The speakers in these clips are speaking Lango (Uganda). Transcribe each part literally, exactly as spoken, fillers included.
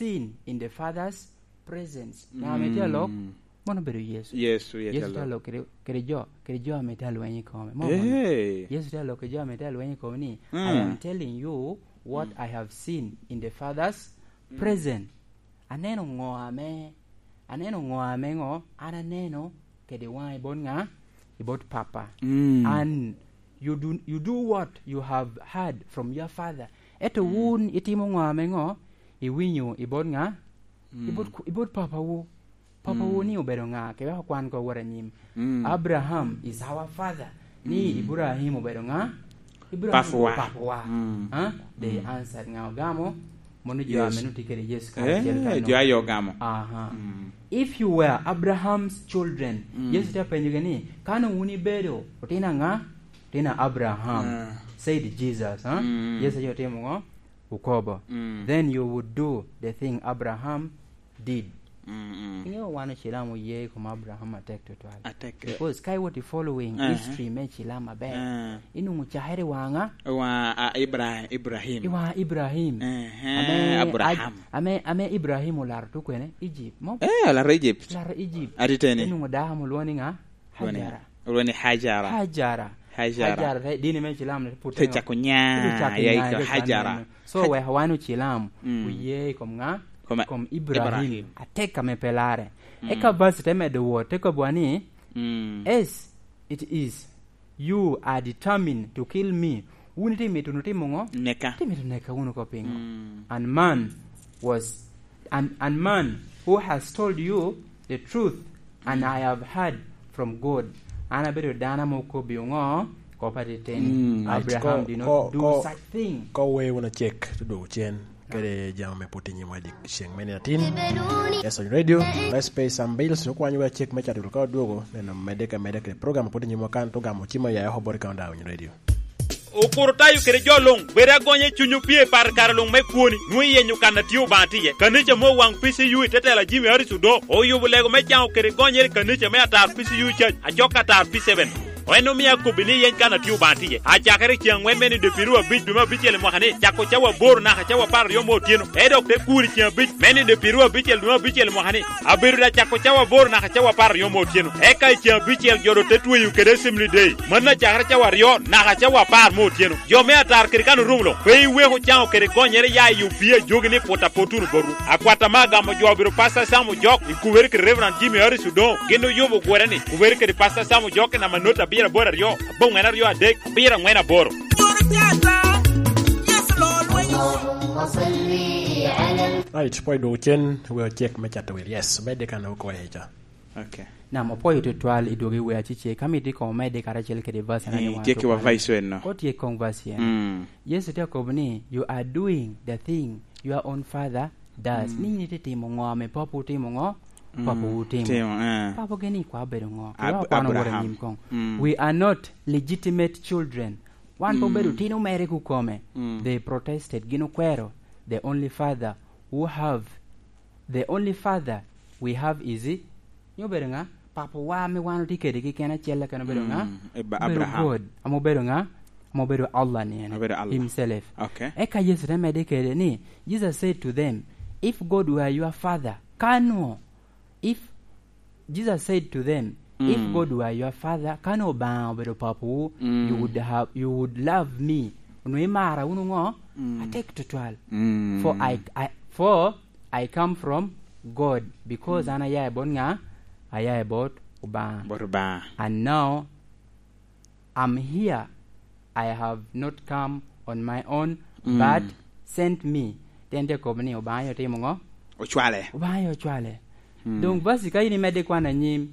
seen in the Father's presence. Ŋa ame tye alok? Mm. Mano obedo Yecu. Yecu, Yecu Yecu tye alok. Tye alok kede, kede jo, kede jo ame tye alweny i kome. Mo mano. Hey. Yecu tye alok kede jo ame tye alweny i kome ni, "I am telling you what I have seen in the Father's presence." Aneno ŋo ame, aneno ŋo ame ŋo an aneno kede waŋa i bot ŋa? I bot Papa. Mm. And you do, you do what you have heard from your father. Ento wun itimo ŋo ame ŋo? Iwinyo i bot ŋa? I bot, i bot papawu. Papawu ni obedo ŋa? Kewek okwan ko wot anyim. Mm. Abraham is our father. Ni Ibrahim obedo ŋa? Ibrahim obedo papawa. Mm. Ha? They answered ŋa ogamo? Mono jo ame nongo tye kede Yecu karacel kano. Eh, jo aye ogamo. Aha. Mm. If you were Abraham's children, Yecu te apenyogi ni, "Kano wun ibedo otino aŋa?" "Otino Abraham," said Jesus, ha? Mm. Yecu aye otimo ŋo? Okobo. Mm. "Then you would do the thing Abraham did." Mm, mm. Iŋeo wan Ocilam oye i kom Abraham atek tutwal. Atek. Because ka iwot i following history me Cilam aber, inwoŋo cakere i waŋa? I waŋa, a, Ibra-, Ibrahim. I waŋa Ibrahim. Ehe, ame Abraham. Aj-, ame, ame Ibrahim olaro tukwene? Egypt. Mo? Eh, olaro Egypt. Olaro Egypt. Atiteni. Inwoŋo dako ame olwoŋo ni ŋa? Olwoŋo ni Hajara. Olwoŋo ni Hajara. Hajara. Hajara. Hajara, te, dini me Cilam ne put te cako nya, te cako nya, ya iko Hajara. So, wek wan Ocilam oye i kom ŋa? Kom Ibrahim. Kom Ibrahim. Atek ame pe larre. Mm. Eka verse te medo wot, te kobbiwa ni, "As it is, you are determined to kill me." Wun itye mito wunu timo ŋo? Neka. Itye mito neka wunu oko piŋo? Mm. And man was, and, and man who has told you the truth, and I have heard from God. An abedo dano ame okobbi ŋo? Kop atiteni. Mm. Abraham did not do such thing. Ko, ko, ko we wun acek, te dwogo cen. Kede jami me pwod i nyimwa i dyeceŋ me nino atin. Yes, Ony Radio, Let's Pay Some Bills, okwanyo wa cek me cato ka odwogo, neno medde ka medde kede program pwod i nyimwa kan, to gamo cim oya oko bot i Countdown Radio. Okuro tayo kede jo luŋ, bed agonya i cuny opye i par kare luŋ me kwoni, nwoŋo iyenyo kan a tye Obaŋa tye iye. Kanica me Owaŋ P C U i te tela Jimmy Harris Odoo, oyubo lego me caŋo kede gonyere i kanica me atar P C U Church, acok atar P seven. En omio akobbi ni yeny kan a tye Obaŋa tye iye. Acakere i ceŋ aŋwen me nino dwe pyeraryo abic dwe me abicel i mwaka ni, cako cawa aboro naka cawa apar aryo me otyeno, e dok te kur i ceŋ abic me nino dwe pyeraryo abicel dwe me abicel i mwaka ni, abedo da cako cawa aboro naka cawa apar aryo me otyeno. Eka i ceŋ abicel jo doŋ te tweyo kede Assembly Day. Mano acakere cawa aryo naka cawa apar me otyeno. Jo me atar kede kan orumo luŋ, pe iwek ocaŋo kede gonyere ya i opii ajogi ni pwot apot wunu botwu. Akwat ame agamo jo obedo Pastor Sam Ojok, i kubere kede Reverend Jimmy Harris Odongo, gin oyubo ogwere ni, kubere kede Pastor Sam Ojok i namba not abiro aboro aryo, aboŋwen aryo adek, abiro aŋwen aboro. Right, pwod idwogo cen, we ocek me cato wil. Yes, medde kan okoye ca. Okay. Nam, opwoyo tutwal i dwogo i wer acece. Ka mito ikomo medde karacel kede verse ena, eh, ni wan tye ki wa tutwal. Verse eno. Ko tye koŋ verse eno. Mm. Yecu te akobo ni, "You are doing the thing your own father does." Mm. Ni in itye timo ŋo ame papawu timo ŋo? Mm. Papawu timo. Timo, eh. Papawu gin ni kwa obedo ŋo? Ab-, kwano wot Abraham. Anyim koŋ. Mm. "We are not legitimate children." Wan pe obedo, mm, tino mere kukome. Mm. They protested, gin okwero, "The only father who have The only father we have is," nyo obedo ŋa? Papawa ame wan otye kede keken acel keken obedo ŋa? Mm, Ab-, obedo Abraham. God, ame obedo ŋa? Ame obedo Allah ni en. Obedo Allah. Himself. Okay. Eka Yecu te medde kede ni, Jesus said to them, "If God were your father," ka nwo, if Jesus said to them, "If, mm, God were your father," ka nwo Obaŋa obedo papawu, mm, "you would have, you would love me." Onwoŋo imara wunu ŋo? Mm. Atek tutwal. Mm. For I, I, for I come from God, because, mm, an aya i bot ŋa? Aya i bot Obaŋa. Bot Obaŋa. And now I'm here, I have not come on my own, mm, but sent me. Tyen tye kobo ni Obaŋa aye otimo ŋo? Ocwale. Obaŋa aye ocwale. Mm. Doŋ verse ka in imedde kwano anyim,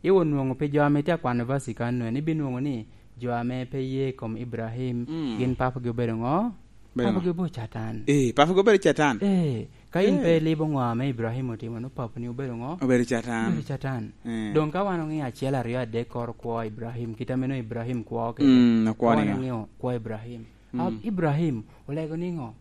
iwot nwoŋo pi jo ame tye akwano verse ka nwen, ibinwoŋo ni jo ame pe ye i kom Ibrahim, mm, gin papagi obedo ŋo? Obedo ŋo? Papagi obedo Catan. Eh, papagi obedo Catan. Eh, ka in, eh, pe ilibo ŋo ame Ibrahim otimo, nwoŋo papani obedo ŋo? Obedo Catan. Obedo Catan. Eh. Doŋ ka wan oŋeo acel, aryo, adek kor okwo Ibrahim, kit ame nwoŋo Ibrahim kwo kede. Mm, okwo ni. Ka wan oŋeo kwo Ibrahim. Mm. Ab-, Ibrahim olego niŋo?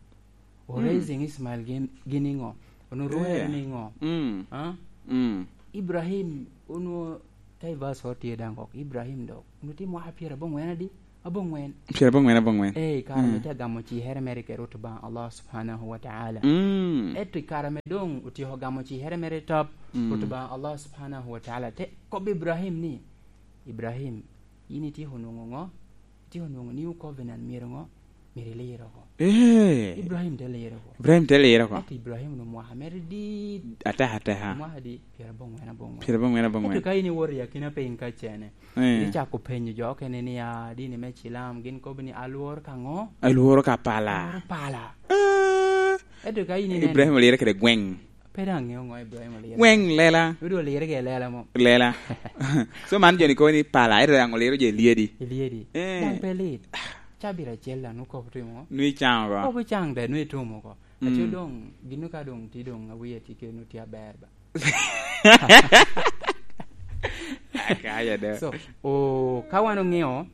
O, mm, raising Ismael gin, gin niŋo? Onwoŋo rwere, eh, niŋo? Mm. Ah? Mm. Ibrahim onwoŋo ka i verse o tye daŋ kok. Ibrahim dok onwoŋo tye mwaka pyeraboŋwen adi? Aboŋwen. Pyerabongwen aboŋwen. Eh, i kare ame tye agamo cikere mere kede Rwot Obaŋa Allah Subhanahu wa Ta'ala. Mm. Ento i kare ame doŋ otyeko gamo cikere mere top, Mm. Rwot Obaŋa Allah Subhanahu wa Ta'ala te kobbi Ibrahim ni, "Ibrahim, yin ityeko nwoŋo ŋo? Ityeko nwoŋo New Covenant myero ŋo? Myero ilir oko." Eh. Ibrahim te liro oko. Ibrahim te liro oko. Ento Ibrahim onwoŋo mwaka mere dit. Ateka, ateka. Mwaka di pyerabongwen aboŋwen. Pyerabongwen aboŋwen. Ento ka in iwoto i akina piny ka cene, Eh. Icako penyo jo okene ni, "Ah, dini me Cilam, gin kobo ni alworo ka ŋo?" Alworo ka pala. Alworo pala. Ah. Ento ka in ineno Ibrahim olire kede gweŋ. Pe daŋ ŋeo ŋo Ibrahim olire. Gweŋ lela. Nwodo olire kede lela mo. Lela. So man jo ni kobo ni pala, ento daŋ oliro jo i lyedi. I lyedi. Eh. Daŋ pe lit. Cabit acel daŋ nwoŋo kobo timo ŋo? Nwoŋo icaŋo oko. Kobo icaŋ de, nwoŋo itumo oko. Aco Mm. doŋ, gino ka doŋ tye doŋ awiya tye kede nwoŋo tye aber ba. Akaya da. So, o, ka wan oŋeo,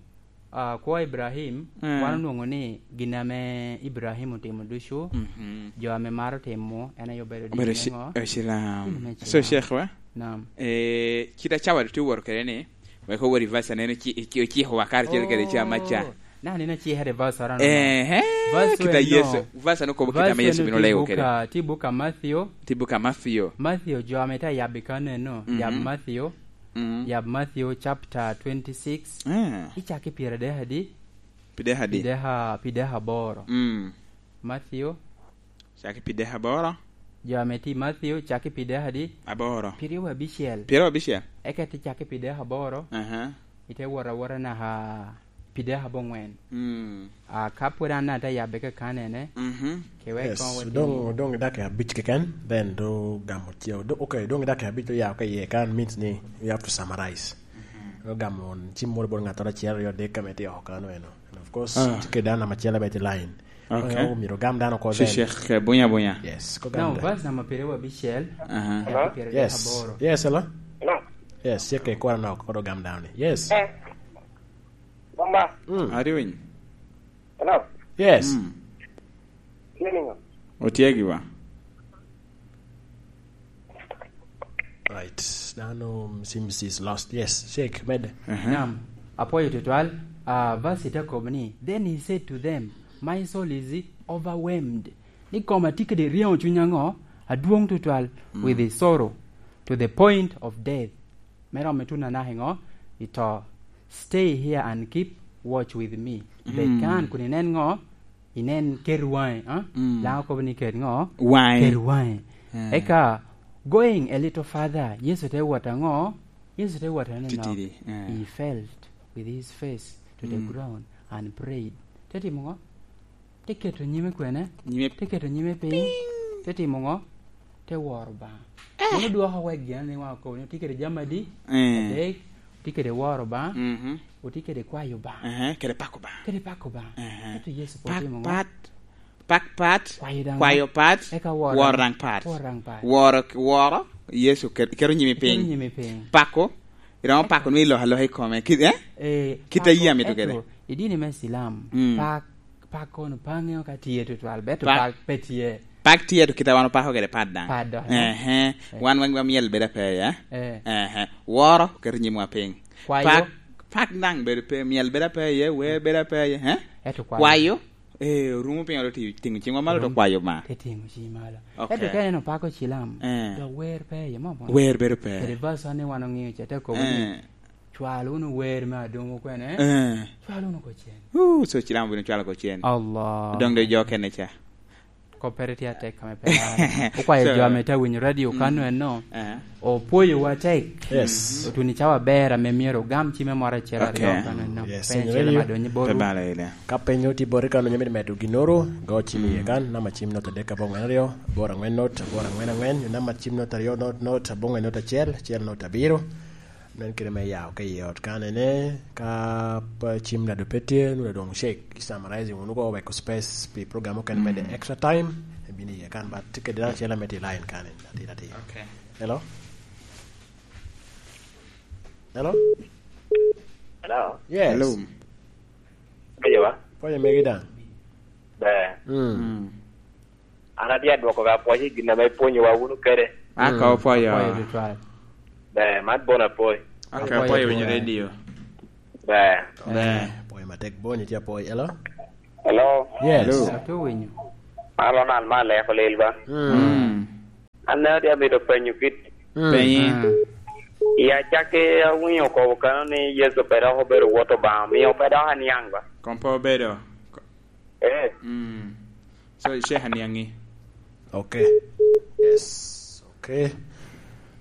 ah, kwo Ibrahim, Mm. wan onwoŋo ni gin ame Ibrahim otimo ducu, Mhm. jo ame maro timo, en aye obedo Obedo dini ci-, ŋo? eh, Cilam. Dini me So, Cilam. Sheikh wa? Naam. Eh, kit acawa dutye owoto kede ni, wek owot i verse aneno ci-, ci-, ocikowa karacel kede ca maca. Oh, na aneno acika i verse arano. Ehe, Verse kit a eno. Yesu, verse eno kobo kit ame Verse Yesu eno bino tye lego buk kede. A, tye buk a Matthew. Tye buk a Matthew. Matthew, jo ame tye ayabbi kanno eno, Mhm. yab Matthew, Mm. yab Matthew chapter twenty-six. Eh. Icak i pyeradek adi? Pyeradek adi? Pyeradek a-, pyeradek aboro. Mm. Matthew. Cak i pyeradek aboro. Jo ame tye i Matthew, cak i pyeradek adi? Aboro. Pyeraryo abicel. Pyeraryo abicel. Eka ite cak i pyeradek aboro. Aha. Ite wot awota naka pyeradek aboŋwen. Mm. Ah, ka pwod an ate yabbe kakanene, Mhm. ke wek Yes, koŋ wot doŋ, i doŋ i dakika abic keken, then do gamo ce-, do-, okay, doŋ i dakika abic do ya ka iye kan, means ni you have to summarize. Mhm. Do gamo cim moro bot ŋattoro acel, aryo, adek, ame tye oko kano eno. And of course, Ah. tye kede an namba acel abed i line. Okay. Koro myero ogam dano oko Ci then. Sheikh, eh, bunya, bunya. Yes, ko gam Now, da. Verse number pyeraryo abicel, Aha. Hello? Pyeraryo Yes. aboro. Yes, hello? Hello? Yes, Sheikh, eh, kwara nok, koro gam dano ni. Yes. Eh. Mama. Mm. Are you in? Hello? Yes. Mm. Tye niŋo? Otye gi wa. Right. Dano seems is lost. Yes, Sheikh, medde. Aha. Naam. Apwoyo tutwal. Ah, verse te kobo ni, "Then he said to them, 'My soul is overwhelmed.'" Ni koma tye kede ryeŋo cuny aŋo? Adwoŋ tutwal, Mm. with the sorrow to the point of death. Me romo ituno anaka i ŋo? I to. "Stay here and keep watch with me." Bed Mm. kan kun inen ŋo? Inen, ket waŋi, ah? Mm. Laŋo kobo ni ket ŋo? Waŋi. Ket waŋi. Eh. Eka, going a little further, Yecu te wot aŋo? Yecu te wot aneno. Titidi, eh. He felt with his face to the Mm. ground and prayed. Te timo ŋo? Te keto nyime kwene? Nyime Te keto nyime piny. Piny. Te timo ŋo? Te woro Obaŋa. Eh. Mano dwoko wek gin ni wan okobo ni otye kede jami adi? Eh. Adek, otye kede woro Obaŋa, Mhm. otye kede kwayo Obaŋa. Ehe, kede pako Obaŋa. Kede pako Obaŋa. Ehe. Ento Yecu pwod Pak timo ŋo? Pat, pak pat, Kwayo daŋ kwayo ŋo? Pat, Eka woro woro daŋ, daŋ pat. Woro daŋ pat. Woro, woro, Yecu ket-, keto nyimi Keto piny. Nyimi piny. Pako, iromo pako nwoŋo iloko aloka i kome. Ki-, eh? Eh, Kit a pako, yie amito kede. Ento, i dini me Cilam, Mm. pak Pak kono pe aŋeo ka tye tutwal, beto Pak. Pak pe tye. Pak tye, to kite wan opako kede pat daŋ. Pat dok, eh? Ehe. Eh. Wan weng wa myel bedo ape iye. Eh. Ehe. Woro, keto nyimwa piny. Kwayo. Pak, pak daŋ bedo pe, myel bedo ape iye, wer bedo ape iye, eh? Eto kwayo. Kwayo, eh, orumo piny, oto ti-, tiŋo ciŋwa malo, to Orumo. Kwayo Obaŋa. Te tiŋo ciŋ malo. Ok. Eto ka ineno pako Cilam, Eh. dok wer pe iye, mo, mo. Wer bedo pe. Kede verse ni wan oŋeo ca, te kobo ni, Eh. Cwal wunu wer me adomo kwene. Eh. Cwal wunu oko cen. Uh, so Cilam obino cwalo oko cen. Allah. Doŋ doŋ jo kene ca. Koppere tye atek kame pe. Okwayo So, jo ame tye awinyo radio mm. Kano enno. Eh. Opwoyowa tek. Yes. Otuni cawa aber ame myero ogam cimme moro acel aryo Okay. Kano enno. Yes, Penyo in acel radio. Ame adonyo i botwu. Pe balo ile. Ka penyo tye boti kano, onyo mito medo ginnoro, go cim iye Mm. Kan, namba cim nota adek abongwen aryo, aboro angwen not, aboro angwen angwen, namba cim nota aryo not not, abongwen not acel, acel not abiro. Nen kite me yao ka i ot kanene, ka pa cim nado pe tye, nwoŋo doŋ shake, i summarizing wunu ko, weko space pi program okene me the Mm. extra time, ebino iye kan, but tye kede dano acel ame tye i line kan, atir atir. Okay. Hello? Hello? Hello? Yes. Hello. Pwonyo wa? Pwonyo megi daŋ. Ber. Mm. Mm. An atye adwoko ka pwoc i gin ame ipwonyowa wunu kede. Aka Mm. Opwoyo. Opwoyo tutwal. Ber, man bon apwoyo. Aka Opwoyo opwoyo winyo tutwal. Radio. Ber. Ber. Eh, pwoyo Matek Bony tye apoi, hello? Hello? Yes. Hello. Atye winyo. Man Ronald me Aleko Lil ba? Mm. Mm. An neno tye amito penyo kit. Mm. Penyi. Mm. I acakki awinyo okobo kano ni Yecu pe dok obedo Wot Obaŋa, omio pe dok aniaŋ ba? Kom pe obedo. Eh. Mm. So, Sheikh aniaŋi. Okay. Yes. Okay.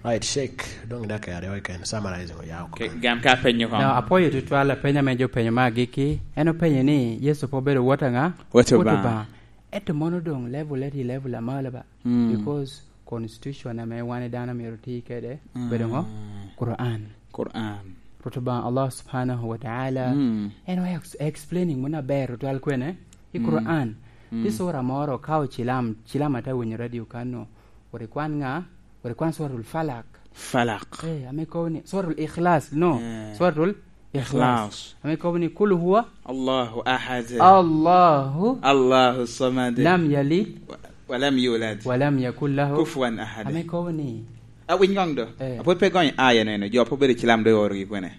Right, Sheikh. Dong dakika aryo keken. Summarizing oya oko. Okay, kan. Gam ka penyo kong. No, apwoyo tutwal apeny ame jo penyo me agikki. En openyo ni, Yecu pe obedo Wot aŋa? Wot Obaŋa. Wot Obaŋa. Ento mono doŋ level eti level amalo ba? Mm. Because constitution ame wan i dano myero oti kede, mm, obedo ŋo? Quran. Quran. Rwot Obaŋa Allah Subhanahu wa Ta'ala, mm, en o ex-, explaining mono aber tutwal kwene i, mm, Quran. Mm. Tye sura moro ka ocilam, cilam ate winyo radio kano. Wot ikwan ŋa? Wot ikwan Suratul Falak. Falak. Eh, ame kobo ni Suratul Ikhlas, no. Eh. Suratul Ikhlas. Ikhlas. Ame kobo ni, "Kul huwa Allahu ahad. Allahu Allahu samad. Lam yalid. Wa, wa lam yulad. Wa lam yakul lahu Kufuwan ahad." Ame kobo ni, a, winy ŋoŋ do. Eh. Apwod pe gony aya neno, jo pe obedo cilam do i orogi kwene.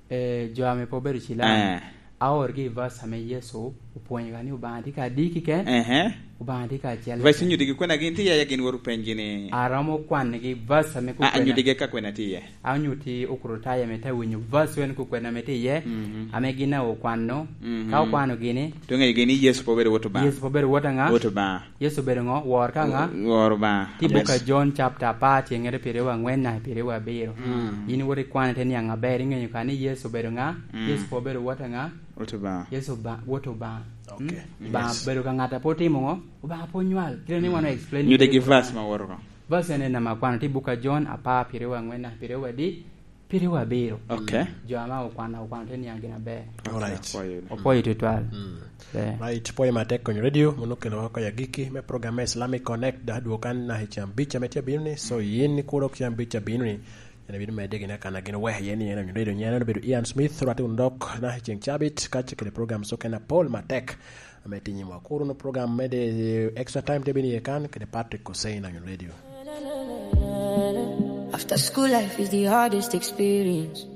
Eh, jo ame pe obedo cilam. Eh. Aorgi i verse ame Yecu opwonyoga ni Obaŋa tye ka adi kiken? Ehe. Obaŋa tye ka acel. Verse onyuttigi kwena gin tye iye, gin wot openygi ni. Aromo kwanigi verse ame, a, kukwena. Anyuttigi ka kwena tye iye. Anyutti Okrutayo ame te winyo verse wen kukwena ame tye iye, mhm, ame gin a okwano. Mhm. Ka okwano gini. Tye ŋeyo gini Yecu pe obedo Wot Obaŋa. Yecu pe obedo Wot aŋa? Wot Obaŋa. Yecu obedo ŋo? Wor ka ŋa? Wor Obaŋa. Tye buk a John chapter apar, tyengere pyeraryo aŋwen naka pyeraryo abiro. Mm. Yin iwot ikwano ite niaŋ aber, iŋeyo ka ni Yecu obedo ŋa? Mm. Yecu pe obedo Wot aŋa? Wot Obaŋa. Yecu Oba-, Wot Obaŋa. Okay. Mm? Obaŋa, yes, obedo ka ŋat a pe otimo ŋo? Obaŋa pe onywal. Kite ni wan o explain. Nyutte gi verse ma woro ko. Verse en en ame akwano, tye buk a John apar pyeraryo aŋwen naka pyeraryo adi? Pyeraryo abiro. Okay. Jo ame okwano, okwano te niaŋ gin aber. Alright. Apwoyo. Opwoyo tutwal. Mm. Yeah. Right, pwoyo matek Konyo Radio, mono okelo oko i agikki me program me Islamic Connect, dok adwogo kan naka i ceng abic ame tye abino ni, so yin ikur dok ceng abic abino ni, en ibino medde gin akana gin oweko iye ni en Konyo Radio, nyen en obedo Ian Smith, rwatte wunu dok naka i ceng cabit, ka ce kede program so kena pol matek. Ame tye nyimwa. Kur wunu program me de, eh, extra time te bino iye kan, kede Patrick Hussein, Konyo Radio. After school life is the hardest experience.